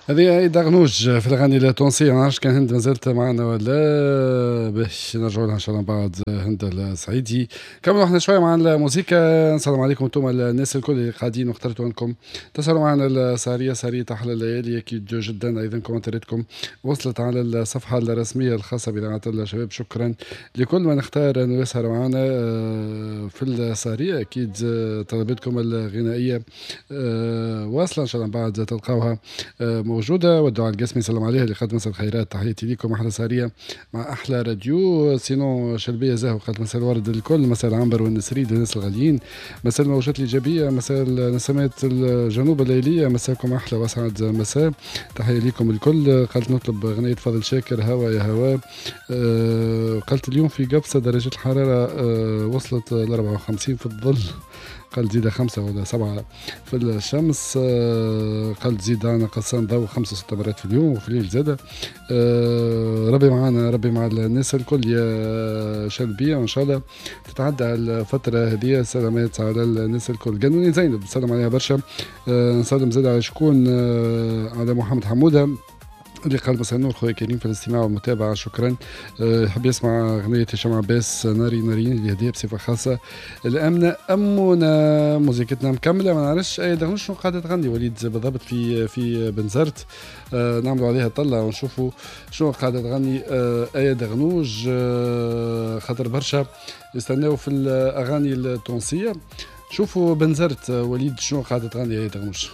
هذه آية دغنوج في الاغاني التونسيه. ما نعرفش كان هند مازالت معنا ولا، باش نرجعوا لها ان شاء الله بعد هند السعيدي. كملوا احنا شوية مع الموسيقى. السلام عليكم انتم الناس الكل اللي قاعدين واخترتوا انكم تسهروا معنا السهريه، سهريه احلى الليالي اكيد جدا. ايضا كومنتاتكم وصلت على الصفحة الرسمية الخاصة باذاعة الشباب. شكرا لكل من اختار انه يسهر معنا في السهريه. اكيد طلباتكم الغنائية واصله، ان شاء الله بعد تلقاوها موجوده. والدعاء القسمي سلام عليها اللي قد مساء الخيرات، تحياتي لكم، احلى سهريه مع احلى راديو. sinon شلبيه زاهو قالت مساء الورد الكل، مساء العنبر والنسريد الناس الغاليين، مساء الموجات الايجابيه، مساء نسمات الجنوب الليليه، مساكم احلى واسعد مساء، تحية لكم الكل. قالت نطلب اغنية فضل شاكر هوا يا هوا. قالت اليوم في قفصه درجه الحرارة وصلت ل 54 في الظل، قال زيد 5 ولا 7 في الشمس. قال زيد أنا قصان ضوء 5 6 مرات في اليوم وفي الليل زادة. ربي معنا، ربي مع الناس الكل يا شلبية، وإن شاء الله تتعدى الفترة هذه سلامات على الناس الكل. قانوني زينب سلام عليها برشا. نسلم زاد على شكون؟ على محمد حمودة اللي قال مساء النور خويا كريم في الاستماع والمتابعة، شكرا. يحب يسمع أغنية هشام عباس ناري نارين اللي هدية بصفة خاصة الأمنة أمونة. موزيكتنا مكملة، ما نعرفش أي دغنوش شنو قاعدة تغني وليد بالضبط في بنزرت. نعملوا عليها طلة ونشوفوا شنو قاعدة تغني آية دغنوج، خاطر برشا يستناو في الأغاني التونسية. شوفوا بنزرت وليد شنو قاعدة تغني آية دغنوج.